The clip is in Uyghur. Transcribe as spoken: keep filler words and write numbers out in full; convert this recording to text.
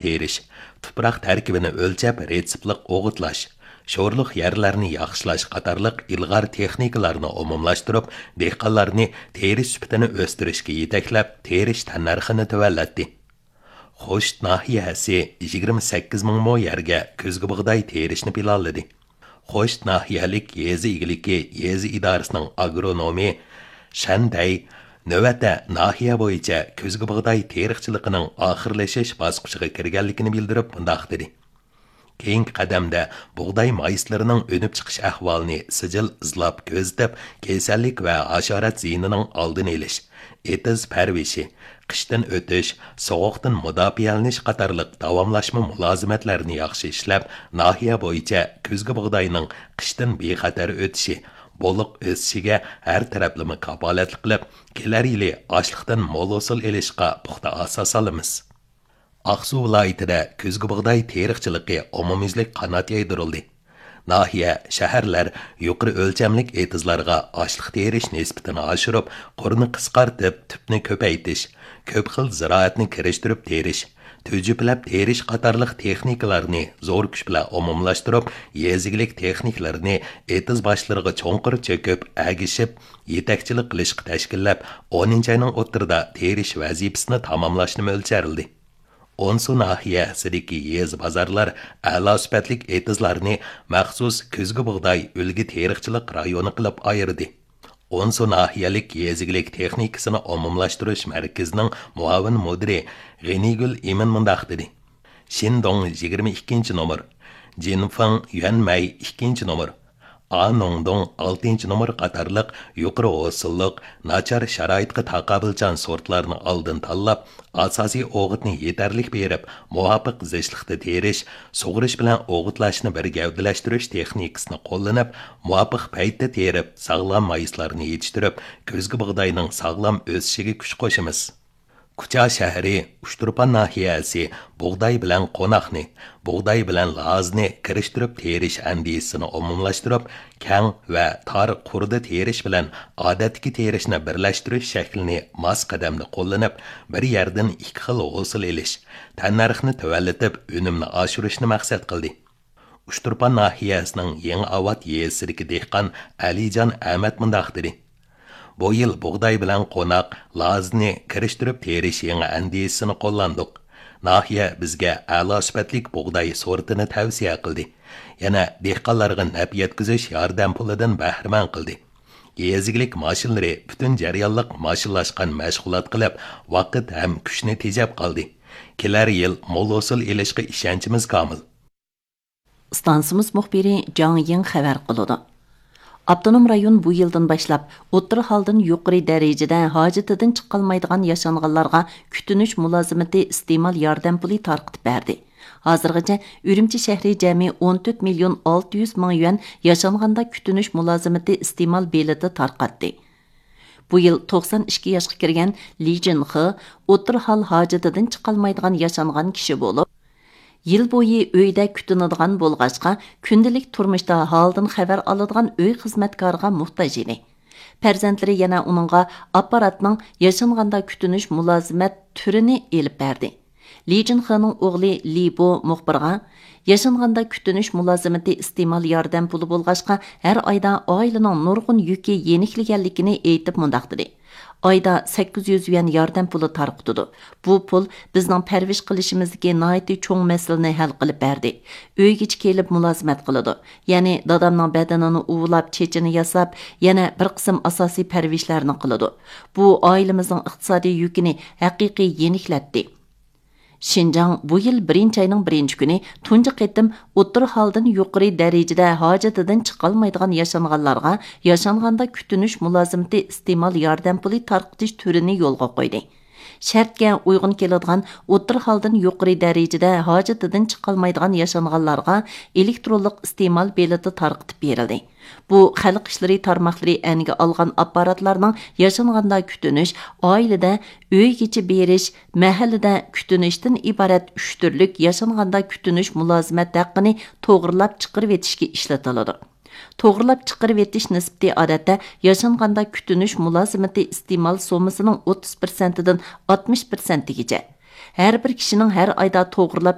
تېرىش، تۇپراق تەركىبىنى ئۆلچەپ رېتسېپلىق ئوغۇتلاش، شورلۇق يەرلەرنى ياخشىلاش قاتارلىق ئىلغار تېخنىكىلارنى ئومۇملاشتۇرۇپ، دېھقانلارنى تېرىش سۈپىتىنى ئۆستۈرۈشكە يېتەكلەپ، تېرىش تەننەرخىنى تۆۋەنلەتتى. خوشۇت ناھىيەسى يىگىرمە سەككىز مىڭ مو يەرگە كۈزگى بۇغداي تېرىشنى پىلانلىدى. خوشۇت ناھىيەلىك يېزا ئىگىلىكى يېزا ئىدارىسىنىڭ ئاگرونومى شەن دەي نۆۋەتتە ناھىيە بويىچە كۈزگى بۇغداي تېرىقچىلىقىنىڭ ئاخىرلىشىش باسقۇچىغا كىرگەنلىكىنى بىلدۈرۈپ مۇنداق دېدى: كېيىنكى قەدەمدە بۇغداي مايسىلىرىنىڭ ئۈنۈپ چىقىش ئەھۋالىنى سىجىل ئىزلاپ كۆزىتىپ، كېسەللىك ۋە ھاشارات زىيىنىنىڭ ئالدىنى ئېلىش، ئېتىز پەرۋىشى، قىشتىن ئۆتۈش، سوغۇقتىن مۇداپىئەلىنىش قاتارلىق داۋاملاشما مۇلازىمەتلەرنى ياخشى ئىشلەپ، ناھىيە بويىچە كۈزگى بۇغداينىڭ قىشتىن بىخەتەر ئۆتۈشى، بولۇق ئۆسۈشىگە ھەر تەرەپلىمە كاپالەتلىك قىلىپ، كېلەر يىلى ئاشلىقتىن مول ھوسۇل ئېلىشقا پۇختا ئاساس سالىمىز. ئاقسۇ ۋىلايىتىدە كۈزگى بۇغداي تېرىقچىلىقى ئومۇميۈزلۈك قانات يايدۇرۇلدى. ناھىيە، شەھەرلەر يۇقىرى ئۆلچەملىك ئېتىزلارغا ئاشلىق تېرىش نىسبىتىنى ئاشۇرۇپ، قۇرنى قىسقارتىپ، تۈپنى كۆپەيتىش، كۆپ خىل زىرائەتنى كىرىشتۈرۈپ تېرىش، تۈجۈپىلەپ تېرىش قاتارلىق تېخنىكىلارنى زور كۈچ بىلەن ئومۇملاشتۇرۇپ، يېزا ئىگىلىك تېخنىكلىرىنى ئېتىز باشلىرىغا چوڭقۇر چۆكۈپ، ئەگىشىپ، يېتەكچىلىك قىلىشقا تەشكىللەپ، ئونىنچى ئاينىڭ ئوتتۇرىدا تېرىش ۋەزىپىسىنى تاماملاشنى مۆلچەرلىدى. ئونسۇ ناھىيەسىدىكى يېزا بازارلار ئەلا سۈپەتلىك ئېتىزلارنى مەخسۇس كۈزگى بۇغداي ئۈلگە تېرىقچىلىق رايونى قىلىپ ئايرىدى. ئونسۇ ناھىيەلىك يېزا ئىگىلىك تېخنىكىسىنى ئومۇملاشتۇرۇش مەركىزىنىڭ مۇئاۋىن مۇدىرى غېنىگۈل ئىمىن مۇنداق دېدى: شىندوڭ يىگىرمە ئىككىنچى نومۇر، جىنفېڭ يۈەنمەي ئىككىنچى نومۇر، ئانوڭدۇڭ ئالتىنچى نومۇر قاتارلىق يۇقىرى ھوسۇللۇق، ناچار شارائىتقا تاقابىلچان سورتلارنى ئالدىن تاللاپ، ئاساسىي ئوغۇتنى يېتەرلىك بېرىپ، مۇۋاپىق زىچلىقتا تېرىش، سۇغىرىش بىلەن ئوغۇتلاشنى بىر گەۋدىلەشتۈرۈش تېخنىكىسىنى قوللىنىپ، مۇۋاپىق پەيتتە تېرىپ، ساغلام مايسىلارنى يېتىشتۈرۈپ، كۈزگى بۇغداينىڭ ساغلام ئۆسۈشىگە كۈچ قوشىمىز. كۇچا شەھىرى ئۇچتۇرپان ناھىيەسى بۇغداي بىلەن قوناقنى، بۇغداي بىلەن لازنى كىرىشتۈرۈپ تېرىش ئەندىزىسىنى ئومۇملاشتۇرۇپ، كەڭ ۋە تار قۇردا تېرىش بىلەن ئادەتتىكى تېرىشنى بىرلەشتۈرۈش شەكلىنى ماس قەدەمدە قوللىنىپ، بىر يەردىن ئىككى خىل ھوسۇل ئېلىش، تەننەرخنى تۆۋەنلىتىپ، ئۈنۈمنى ئاشۇرۇشنى مەقسەت قىلدى. ئۇچتۇرپان ناھىيەسىنىڭ يېڭىئاۋات يېزىسىدىكى دېھقان ئەلىجان ئەمەت مۇنداق دېدى: بۇ يىل بۇغداي بىلەن قوناق، لازنى كىرىشتۈرۈپ تېرىش يېڭى ئەندىزىسىنى قوللاندۇق. ناھىيە بىزگە ئەلا سۈپەتلىك بۇغداي سورتىنى تەۋسىيە قىلدى. يەنە دېھقانلارغا نەپ يەتكۈزۈش ياردەم پۇلىدىن بەھرىمەن قىلدى. يېزا ئىگىلىك ماشىنىلىرى پۈتۈن جەريانلىق ماشىنىلاشقان مەشغۇلات قىلىپ، ۋاقىت ھەم كۈچنى تېجەپ قالدى. كېلەر يىل مول ھوسۇل ئېلىشقا ئىشەنچىمىز كامىل. ئىستانسىمىز مۇخبىرى جاڭ يىڭ خەۋەر قىلىدۇ. ئاپتونوم رايون بۇ يىلدىن باشلاپ ئوتتۇرا ھالدىن يۇقىرى دەرىجىدە ھاجىتىدىن چىقالمايدىغان ياشانغانلارغا كۈتۈنۈش مۇلازىمىتى ئىستېمال ياردەم پۇلى تارقىتىپ بەردى. ھازىرغىچە ئۈرۈمچى شەھىرى جەمئىي ئون تۆت مىليون ئالتە يۈز مىڭ يۈەن ياشانغاندا كۈتۈنۈش مۇلازىمىتى ئىستېمال بېلىتى تارقاتتى. بۇ يىل توقسان ئىككى ياشقا كىرگەن لى جىنخې ئوتتۇرا ھال ھاجىتىدىن چىقالمايدىغان ياشانغان كىشى بولۇپ، يىل بويى ئۆيدە كۈتۈنىدىغان بولغاچقا، كۈندىلىك تۇرمۇشتا ھالدىن خەۋەر ئالىدىغان ئۆي خىزمەتكارىغا موھتاج ئىدى. پەرزەنتلىرى يەنە ئۇنىڭغا ئاپپاراتنىڭ ياشانغاندا كۈتۈنۈش مۇلازىمەت تۈرىنى ئېلىپ بەردى. لى جىنخېنىڭ ئوغلى لى بو مۇخبىرغا، ياشانغاندا كۈتۈنۈش مۇلازىمىتى ئىستېمال ياردەم پۇلى بولغاچقا، ھەر ئايدا ئائىلىنىڭ نۇرغۇن يۈكى يېنىكلىگەنلىكىنى ئېيتىپ مۇنداق دېدى: ئايدا سەككىز يۈز يۈەن ياردەم پۇلى تارقىتىدۇ. بۇ پۇل بىزنىڭ پەرۋىش قىلىشىمىزدىكى ناھايىتى چوڭ مەسىلىنى ھەل قىلىپ بەردى. ئۆيگىچە كېلىپ مۇلازىمەت قىلىدۇ. يەنى دادامنىڭ بەدىنىنى ئۇۋىلاپ، چېچىنى ياساپ، يەنە بىر قىسىم ئاساسىي پەرۋىشلەرنى قىلىدۇ. بۇ ئائىلىمىزنىڭ ئىقتىسادىي يۈكىنى ھەقىقىي يېنىكلەتتى. شىنجاڭ بۇ يىل بىرىنچى ئاينىڭ بىرىنچى كۈنى تۇنجى قېتىم ئوتتۇرا ھالدىن يۇقىرى دەرىجىدە ھاجىتىدىن چىقالمايدىغان ياشانغانلارغا ياشانغاندا كۈتۈنۈش مۇلازىمىتى ئىستېمال ياردەم پۇلى تارقىتىش تۈرىنى يولغا قويدى. شەرتكە ئۇيغۇن كېلىدىغان ئوتتۇرا ھالدىن يۇقىرى دەرىجىدە ھاجىتىدىن چىقالمايدىغان ياشانغانلارغا ئېلېكترونلۇق ئىستېمال بېلىتى تارقىتىپ بېرىلدى. بۇ خەلق ئىشلىرى تارماقلىرى ئەنگە ئالغان ئاپپاراتلارنىڭ ياشانغاندا كۈتۈنۈش، ئائىلىدە ئۆيگىچە بېرىش، مەھەللىدە كۈتۈنۈشتىن ئىبارەت ئۈچ تۈرلۈك ياشانغاندا كۈتۈنۈش مۇلازىمەت ھەققىنى توغرىلاپ چىقىرىۋېتىشكە ئىشلىتىلىدۇ. توغرىلاپ چىقىرىۋېتىش نىسبىتى ئادەتتە ياشانغاندا كۈتۈنۈش مۇلازىمىتى ئىستېمال سوممىسىنىڭ ئوتتۇز پىرسەنتىدىن ئاتمىش پىرسەنتىگىچە، ھەر بىر كىشىنىڭ ھەر ئايدا توغرىلاپ